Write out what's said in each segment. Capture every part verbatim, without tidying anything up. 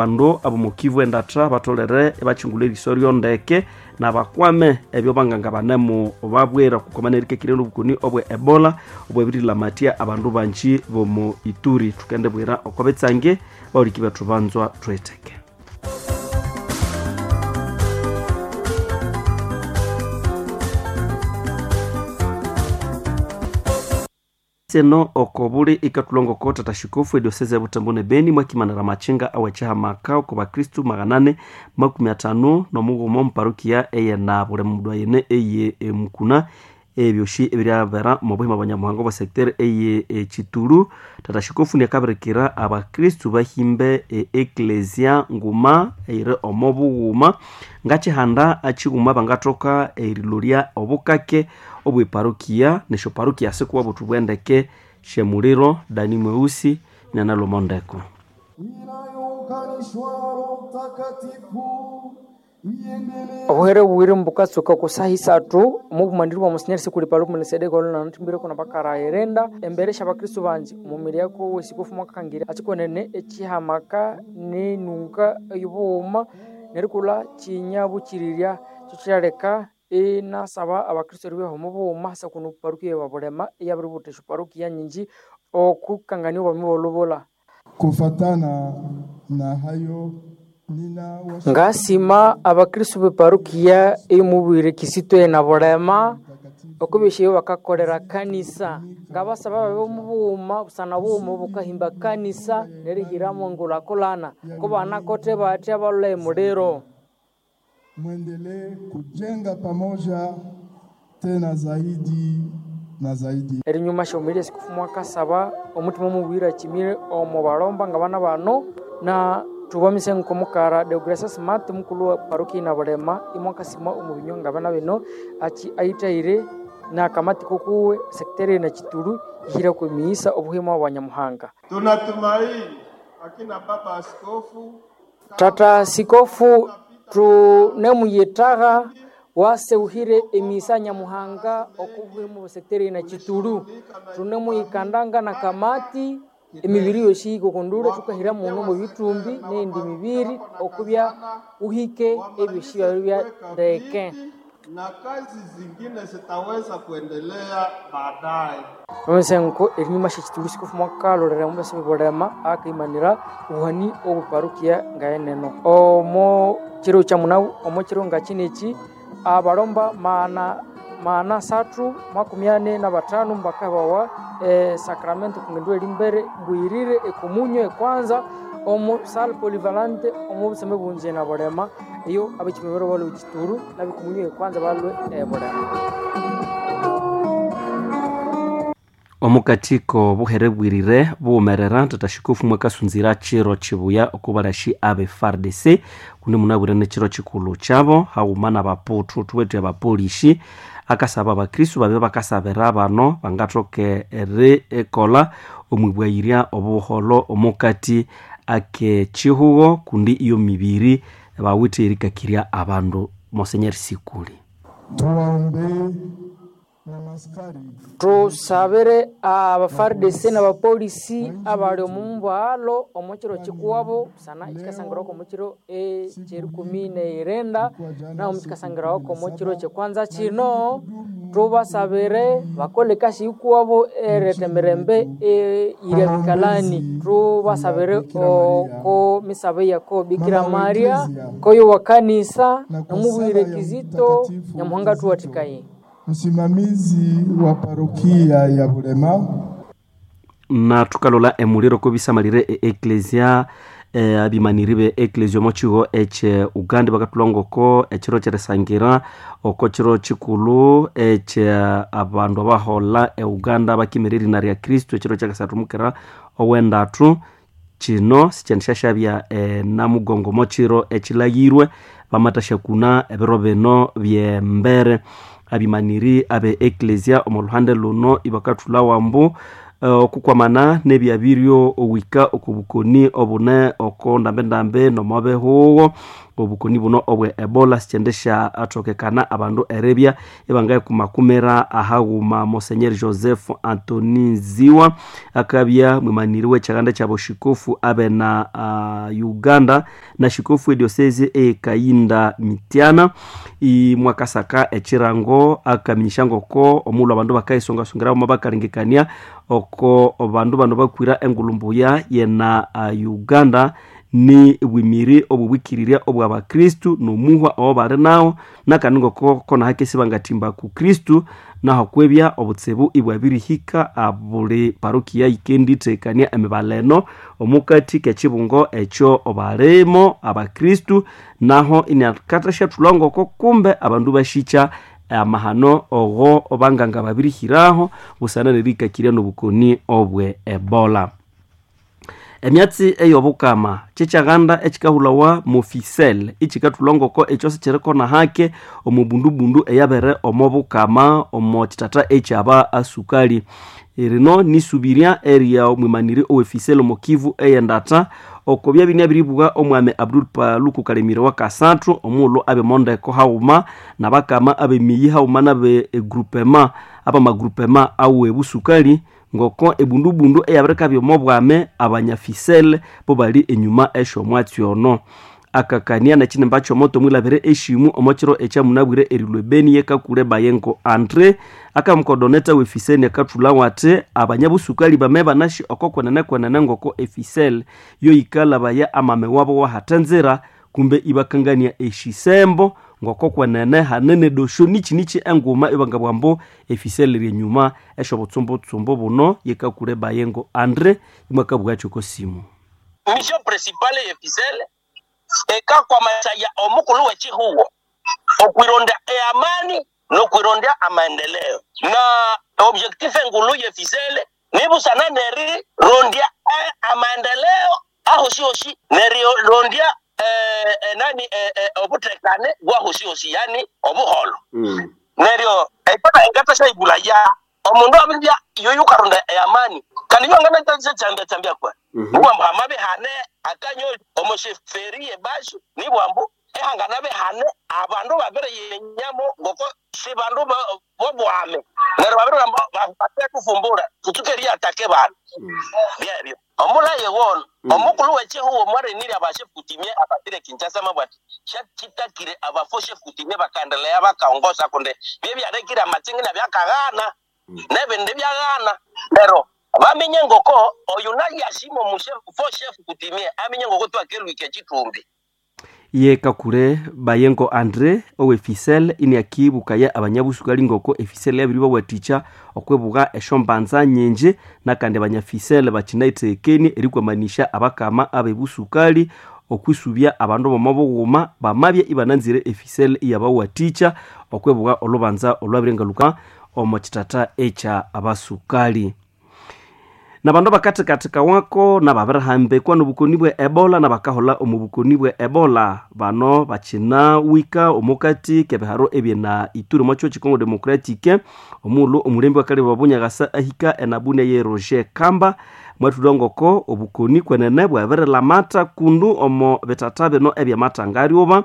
Abandu abomukivu endatha batholere ibakingulha eriso ryondeke nabakwame ebyo banganga banemu babwira okukoma nerikekirya nobukoni obwe Ebola obwabirilamatya abandu banji bomu Ituri. Thukendibwira oko bitsange bahuliki bethu banzwa thwitheke. Seno okobuli ikatulongoko tata shikofu edioseze ya Butembo ne Beni mwakimanira machinga awechihamaka oko bakristu maganane makumi atano nomughuma omuparukia eyena buli mundu ayene eye emukuna ebyoshi ebiryabera omu buhima bwa Nyamuhanga obwa secteur eye Chitulu. Tata shikofu niakabirikira abakristu bahimbe e eklesia nguma eyiri omo bughuma ngachihanda achighuma bangathoka erilolya obukake obweparukia nesyoparukia sikuwa buthu bwendeke shemuliro Dani Mweusi nanalomondeko. Obuhere bubiri mbukatsuka ku saha isathu omubumaniri bwa Monsinyeri Sikuli Paluku Melikisedeki olunanathimbireko nabakara irenda embere syabakristu banji omumiri yako wesikofu mwakakangira achikonene echihamaka nenunga eyobughuma nerikulha kinyabukirirya kyo kyaleka inasaba abakristu eribyaho omubughuma hasa kuno parukia ya Bulema eyabiributha esyoparukia nyinji okukangania obwami bw'olubulha. Kufatana na hayo ngasima abakristu beparukia eyomubwire Kisito na Bulema okubesyayo bakakolera kanisa ngabasaba babe omubughuma busana bughuma bukahimba kanisa nerihiramo ngulhakulhana kubanakote batya balholha emuliro. Mwendelee kujenga pamoja tena zaidi na zaidi. Erinyuma syaumirya sikufu mwakasaba omutima omubwire akimire omo balomba ngabana bano na thubamise nkomukara Deogratias Smart mukulu wa parokia na Bulema imwakasima omu binywa ngabana bino achi ayithaire nakamati kokuwe sekiteri na Chitulu ihira kwemiisa obuhima bwa Nyamuhanga. Tunatumaini akina baba askofu Tata sikofu tunemuyitagha waseuhire emisa Nyamuhanga okubuhimu busekiteri na Chitulu tunemuyikandanga na kamati emibiri yosi ikokondule tukahira muno mu bitumbi n'endi mibiri okubya uhike ebyosi byabya ndeke na kazi zingine zitaweza kuendelea baadaye. Omusenko erinyuma syekitulu sikofu mwakalolera mubasa bibulema akaimanira obuhani obuparukia ngaeneno omo kiro kya munawu omo kiro nga kineki abalomba maana maana asathu makumi ane na batano mbakabawa e, sacramento kungendu elimbere mbwirire ekomunyo ekwanza omu sal polyvalente omu buseme bunje na Bulema eyo abekimibero balwe Chituru nabikomunyo ekwanza balwe e, Bulema. Omukatiko buhere bwirire buwumerera tata shikofu mwakasunzira chiro chibuya okubalashi abe F A R D C kundi munabwire nechiro chikulu chabo haghuma nabaputu thuwethu abapolishi akasaba abakristu babe bakasabira bano bangathoke erikolha omwibwayirya obuholho omukati ake chihugo kundi iyo mibiri bawithe erikakirya abandu. Monsenyeri Sikuli tuwaombee Tusabire aba F A R D C n'abapolisi abali omu mubwalo omu kiro kikuwabo busana ekikasangirwako omu kiro ekyerikumi neirenda naho mukikasangirwako omu kiro kyekwanza kino tubasabire bakole ekasi yikuwabo ereta emirembe eyiri abikalani. Tubasabire oko misabe yako Bikira Maria koyo wa kanisa nomubwire Kizito Nyamuhanga tuwathikaye. Msimamizi wa parokia ya Bulema na tukalola emuliro kobisamalire e eklesia e, abimaniri be eklesia omo chigo eche Uganda bakatulongoko echiro kyerisangira oko chiro chikulu eche abandu abahola e Uganda bakimira erina rya Kristo echiro kyakasathu mukira owendatu kino sikyandisyashabya e, namugongo mo chiro echilayirwe bamathashyakuna ebiro bino byembere abimaniri abe eklesia omu luhande luno ibakathula wambu okukwamana nebyabiryo owika okubukoni obune oko ndambendambe nomobehugo Obukoni buno obwe Ebola sikyendesha athokekana abandu eribya ibangayikumakumira ahaghuma. Monsenyeri Joseph Antoni Ziwa akabya mwimaniri w'ekyaganda ky'aboshikofu abena uh, Uganda na shikofu ediosese eyekayinda Mitiana imwakasaka ekirango akaminyisha ngoko omulhu abandu bakayisongasongera bama bakalengekania oko bandu bano bakwira engulumbuya yena uh, Uganda ni bwimiri obubwikirirya obwabakristu nomuhwa owo bali nawo nakandi ngoko kona hakesi bangathimba ku Kristu naho kwebya obutsibu ibwabirihika abuli parokia yikendithekania emibaleno omukati k'ekibungo ekyo balimo abakristu naho inakathasyathulha ngoko kumbe abandu bashikya amahano ogo banganga babirihiraho busana nerikakirya n'obukoni obwe Ebola. Emyatsi ey'obukama kyekyaganda ekikahulawa mofisel ikikathulha ngoko ekyo sikyirikona hake omubundubundu eyabere omo bukama omo kitata ekyaba asukali. Rino nisubirya eria omwimaniri owefisel omo Kivu eyendata oko byabini abiribugha omwami Abdul Paluku Kalemire wa Kasathu omughulhu abemondeko haghuma nabakama abemiyi haghuma nabe egrupema abamagrupema awe busukali ngoko ebundubundu eyabirikabya omo bwame abanyafisele bo bali enyuma esyomwatsi ono. Akakania nekinimba kyomoto mwilabire eshimu omo kiro ekyamunabwire erilwa ebeni yekakule Bayengo Andre akamukodoneta wefiseni akathulhawo athi abanyabusukali bame banashi oko kwenene kwenene ngoko efisel yoyikalabaya amame wabo wahatenzira kumbe ibakangania eshisembo ngoko kwenene hanene dosho nichi enguma ibangabwa mbu efisel ryenyuma esyobutsumbutshumbu buno yekakule Bayengo Andre imwakabugha kyoko simu. Mission principale yefisel ekakwamasaya omukulu w'ekihugo okwironda eamani n'okwironda amaendeleo na objectif engulu yefisele nibusana neri rondya eh, amaendeleo ahoshihoshi nerirondya eh, eh, nani eh, eh, obutekane bwahoshihoshi yani obuholo mm. Neryo ekona engatashaibula ya omundu abirya yoyo karonda eamani kandi yo ngana chambia chambia kwa mm -hmm. Bwambu hamabe hane akanyo omosheferi ebashu nibwambu ehangana behane abandu babere yenyamo ngoko si bandu bobwame neryo babere bate kufumbura kutukeria atake bandu byebyo omulaye wono omukulu w'ekihugo mwarenire abashefu kutimie abatire Kinshasa mabwati shachitakire abafo shefu kutimie bakaendelea bakaongoza kunde byebyarekire amatsingi nabyakaghana nebindi byaghana lero bamenye ngoko oyu nayashimo mushefu shefu kutimie amenye ngoko twakelwike chitumbi. Ye kakule Bayengo Andre owefisel iniakibukaya abanyabusukali ngoko efisel yabiribawathikya okwibugha esyombanza nyingi nakandi abanyafisel bakinaithekenie erikwamanisha abakama abebusukali okwisubya abandu bomo bughuma bamabya ibananzire efisel iyabawathikya okwibugha olubanza olwabirengaluka omo kitata ekya abasukali. Nabandu bakathikathika wako nababirihambikwa nobukoni bwe Ebola nabakahola omu bukoni bwe Ebola bano bakinawika omukati kebiharo ebyena Ituri omwa kyo Congo Democratique omughulhu omulembe wakalebe wabunyakasa ahika enabunia ye Roger Kamba mwathulha ngoko obukoni kwenene bwabirilamata kundu omo bitata bino ebyamathangaryuba.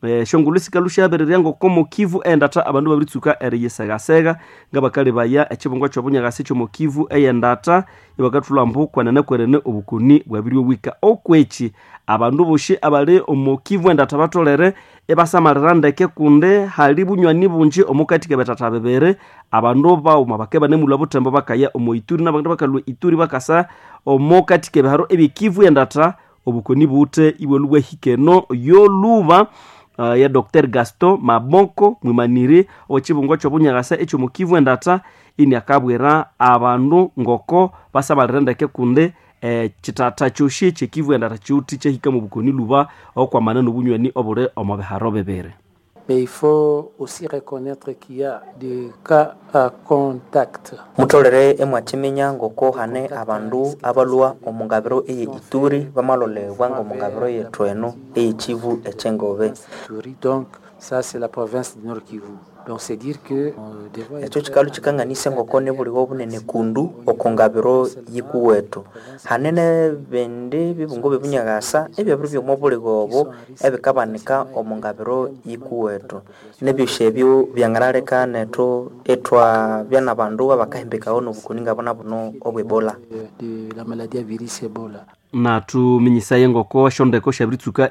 Esyongulhu sikalhu syabirirya ngoko mokivu endatha abandu babiritsuka eriyisegasega ngabakalebaya ekibungo kyobunyakasi kyomokivu eyendatha ibakathulha ambu kwenene kwenene obukoni bwabiriowika. Okweki abandu bosi abali omokivu endatha batholere ibasamalira ndeke kundi hali bunywani bungi omukati kebithatha bibiri abandu baghuma bakabya banemulhwa buthembo bakaya omo Ituri nabandu bakalhwa Ituri bakasa omukati kebiharo ebyekivu endatha obukoni buwithe ibwalhwa bwahika eno yolhuba. Uh, ya Doctor Gaston Maboko mwimaniri owekibungo kyobunyakasa ekyomukivu endatha ini akabwira abandu ngoko basabalire ndeke kundi eh, kithatha kyosi ekyekivu endatha kyiwuthi kyahika mu bukoni lhuba okwamana nobunywani obuli omo biharo bibiri. Mais il faut aussi reconnaître qu'il y a des cas à contact. Mutolere emwakiminya ngoko hane abandu abalwa omu ngabiro eye Ituri bamalolebwa ng'omu ngabiro yethu eno eye Kivu ekyengobe. Ituri, donc ça c'est la province du Nord Kivu. Donc c'est dire que Ekyo kikalu kikanganisa ngoko nibulighe obunene kundu oko ngabiro yikuwethu. Hanene bindi bibungo byebunyakasa ebyabiri byoma obulighe obo ebikabanika omu ngabiro yikuwethu. Nebyosi ebyo byanganaleka nethu ithwabya nabandu abakahimbikawa nobukoni ngabuna buno obwe Ebola. de la maladie à virus Ebola. Nathuminyisaye ngoko esyondeko syabiritsuka.